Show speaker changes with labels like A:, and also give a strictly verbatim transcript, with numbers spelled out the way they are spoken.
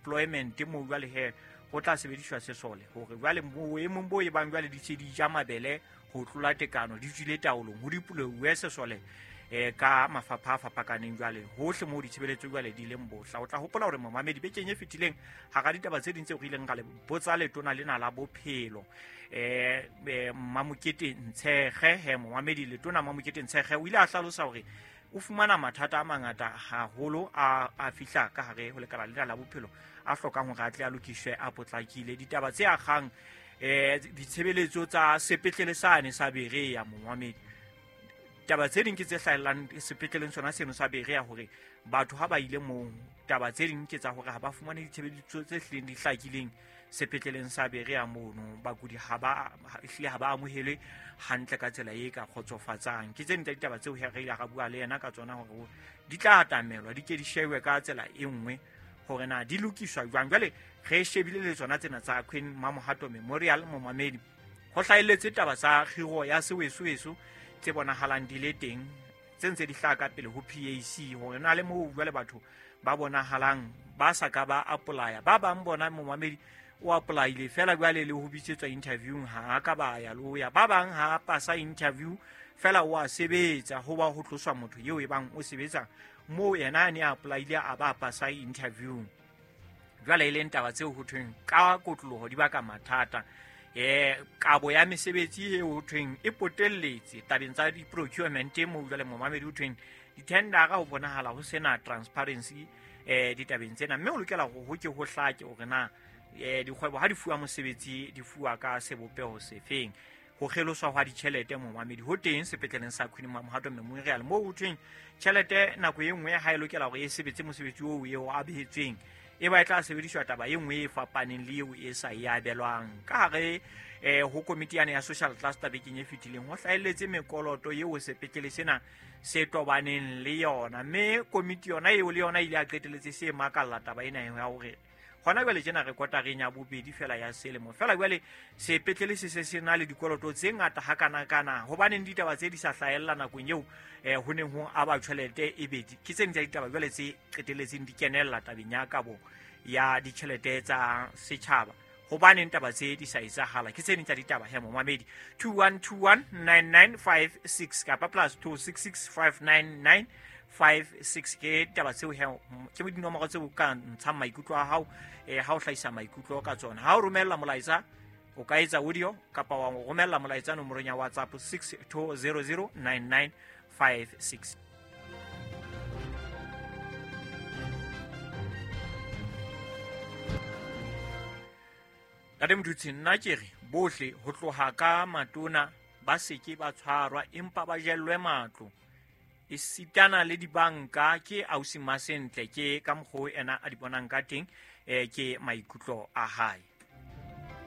A: deployment mo jwale he ho tla sebediswa sesole hore jwale boemong bo e bang jwale di se di ja mabele ho tlola tekano di tswile taolong ho dipolowe sesole eh ka mafapha a fapakaneng jwale hohle mo ditshebeletso jwale di leng bohla. O tla hopola hore momamedi bekeng e fetileng hara ditaba tse ding tseo re ileng ra le botsa letona lena la bophelo eh Mamokete Ntshege he momamedi letona Mamokete Ntshege o ile a hlalosa hore o fumana mathata a mangata haholo a a fihla ka hare ho lekala lena la bophelo a hlokang hore a tle a lokiswe a potlakile. Ditaba tse akgang eh ditshebeletso tsa sepetlele sane sa Berea momamedi, taba tse ding ke tse hlahellang sepetleleng sona seno sa Berea hore batho ha ba ile moo, taba tse ding ke tsa hore ha ba fumane ditshebeletso tse hlileng di hlakileng sepetleleng sa Berea mono, bakudi ha ba hlile ha ba amohelwe hantle ka tsela e ka kgotsofatsang. Ke tse ding tsa ditaba tseo re ile ra bua le yena ka tsona hore di tla atamelwa di ke di shewe ka tsela e nngwe hore na di lokiswa jwang. Jwale re shebile le tsona tsena tsa Queen Mamohato Memorial momamedi, ho hlahelletse taba tsa kgiro ya sewesoweso tse bonahalang di le teng tse ntse di hlaha ka pele ho P A C hore na le moo jwale batho ba bonahalang ba sa ka ba apply-a, ba bang bona momamedi o apply-ile fela jwale le ho bitsetswa interviewng ha ka ba ya lo ya, ba bang ha pasa interview fela o a sebetsa ho ba ho tloswa motho eo e bang o sebetsa moo yena a ne a apply-ile a ba pasa interview. Jwale e leng taba tseo ho thweng ka kotloloho di baka mathata. Eh kabo ya mesebetsi eo ho thweng e potelletse tabeng tsa di-procurement moo jwale momamedi ho thweng di-tendera ho bonahala ho sena transparency eh ditabeng tsena, mme o lokela hore ho ke ho hlake hore na eh dikgwebo ha di fuwa mosebetsi di fuwa ka sebopeho sefeng. Ho kgeloswa hwa ditjhelete momamedi ho teng sepetleleng sa Queen Mamohato Memorial moo ho thweng tjhelete nako e nngwe ha e lokela hore e sebetse mosebetsi oo eo a behetsweng e ba e tla sebediswa taba e nngwe e fapaneng le eo e sa e abelwang. Ka hare eh ho komiti yane ya social cluster bekeng e fetileng ho hlahelletse mekoloto eo sepetlele sena se tobaneng le yona, mme komiti yona eo le yona ile a qetelletse se makalla taba ena ya hore hona jwale tjena re kotareng ya bobedi fela ya selemo fela jwale sepetlele se se se na le dikoloto tse ngata hakanakana. Hobaneng ditaba tse di sa hlahella nakong eo eh ho neng ho aba tjhelete e bedi ke tse ding tsa ditaba jwale tse qetelletseng di kenella tabeng ya kabo ya ditjhelete tsa setjhaba. Hobaneng taba tse di sa etsahala ke tse ding tsa ditaba he momamedi. Two one two one nine nine five six kapa plus two six six five nine nine five six ke taba tseo he ke dinomoro tseo ka ntshang maikutlo a hao eh ha o hlahisa maikutlo ka tsona. Ha o romella molaetsa o ka etsa audio kapa wa romella molaetsa nomorong ya WhatsApp six two zero zero nine nine five six. Ntate Motutsi, nna ke re bohle ho tloha ka matona ba seke ba tshwarwa empa ba jellwe matlo e sitana le dibanka. Ke ausi Masentle ke ka mokgwa ena a di bonang ka teng, eh ke maikutlo a hae.